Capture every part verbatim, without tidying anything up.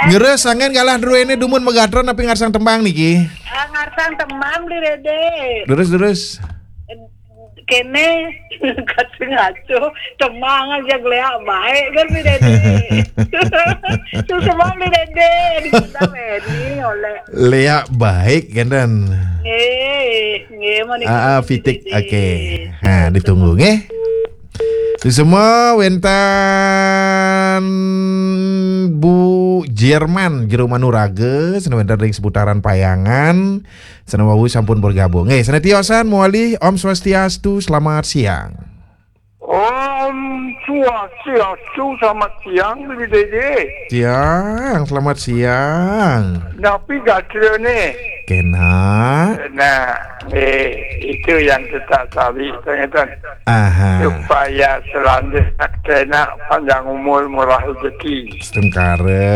Gerus, anggen galah druene dumun magatra napi ngarsang tembang niki? Ah, ngarsang tembang Bli Dede. Durus, durus. Kene, kacang ngaco, tembang aja geleak baik kan Bli Dede. Suksma Bli Dede, di Sunda Beni oleh. Leak baik kan, Dan? Nggih, nggih, menika Ah, ah, Bli Pitik. Dede. Oke. Nah, ditunggu nggih. Suksma wenten Bu Jerman, Jero Manuraga, sane wenten ring seputaran Payangan, sane wau sampun bergabung. Nggih, sane tiosan mawali, Om Swastiastu, selamat siang. Om Swastiastu, selamat siang, Bli Dede. Siang, selamat siang. Napi gatrane? Kena. Nah, eh, itu yang kita cari, ternyata. Aha. Supaya selanjutnya kena panjang umur, murah rezeki. Setengkara.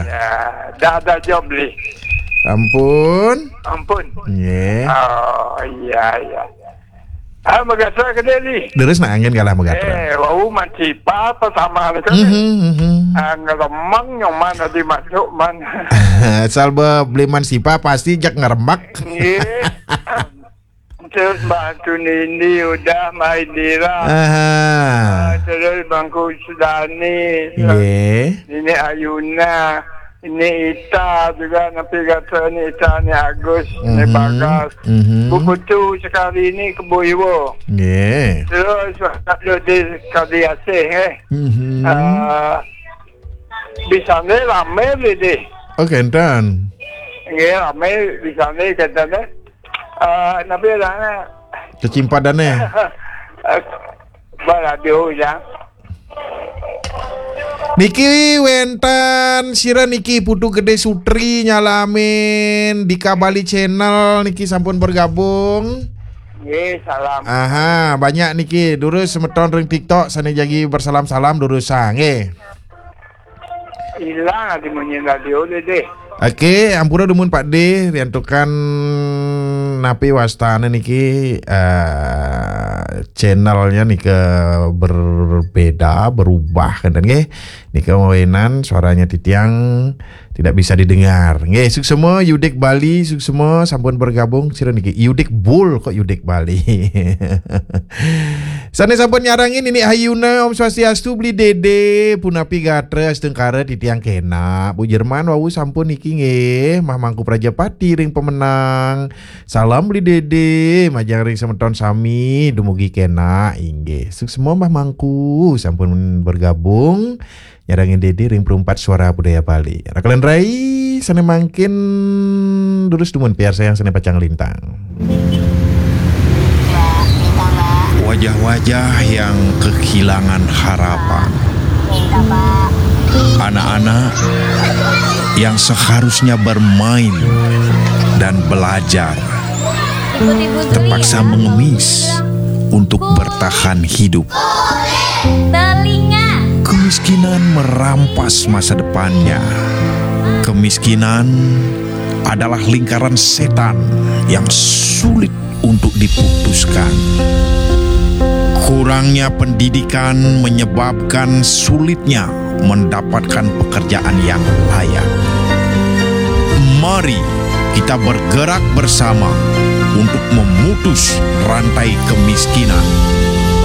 Ya, dah ada job, Bli. Ampun. Ampun. Nggih. Oh, iya, iya. Ah, magatra ke Delhi. Terus nak angin galah magatra. Eh, wau mansipa pertama ni kan. Mhm, mhm. Ah, ngeremang nyoman tadi masuk man. Asal be-, beli mansipa pasti jak ngeremak. Nggih. Terus Mbak Tunini udah, Mbak Indira. Aha. Ah, terus Bangku Sudani. Nggih. Nini Ayuna. Ini Ita juga, napi kata ni Ita ni Agus, ni Mhm. Bagas. Mhm. Bu Putu sekali ni Kebo Iwo. Nggih. Terus ada di sekali Asih, eh. Mhm. Ah, di sana rame ni deh. Oh, kenten. Nggih, rame di sana kenten, eh. Ah, napi lah, eh. Kecimpadan, eh. Eh, baladio ya. Niki wenten sira niki Putu Gede Sutri nyalamin Dika Bali Channel niki sampun bergabung. Nggih, salam. Aha, banyak niki. Durus semeton ring TikTok sane jagi bersalam-salam durusang nggih. Ilang adi munyi radio deh, deh. Oke, ampura dumun Pak De, riantukan napi wastane niki, eh, channelnya nika berbeda, berubah kan nggih. Nika mawinan suaranya titiang tidak bisa didengar. Nggih, suksma Yudik Bali, suksma sampun bergabung sira niki. Yudik Bul kok Yudik Bali. Sane sampun nyarengin Nini Ayuna, Om Swastiastu, Bli Dede, punapi gatra astungkara titiang kena. Bu Jerman wau sampun niki nggih, Mah Mangku Prajapati ring Pemenang. Salam Bli Dede, majeng ring semeton sami, dumugi kena, inggih. Suksma Mah Mangku, sampun bergabung. Nyarengin Dede ring Perumpat Suara Budaya Bali. Rakalan rai, sane mangkin durus dumun piarsayang sane pacang lintang. Wajah-wajah yang kehilangan harapan. Anak-anak yang seharusnya bermain dan belajar terpaksa mengemis untuk bertahan hidup. Telinga. Kemiskinan merampas masa depannya. Kemiskinan adalah lingkaran setan yang sulit untuk diputuskan. Kurangnya pendidikan menyebabkan sulitnya mendapatkan pekerjaan yang layak. Mari kita bergerak bersama untuk memutus rantai kemiskinan.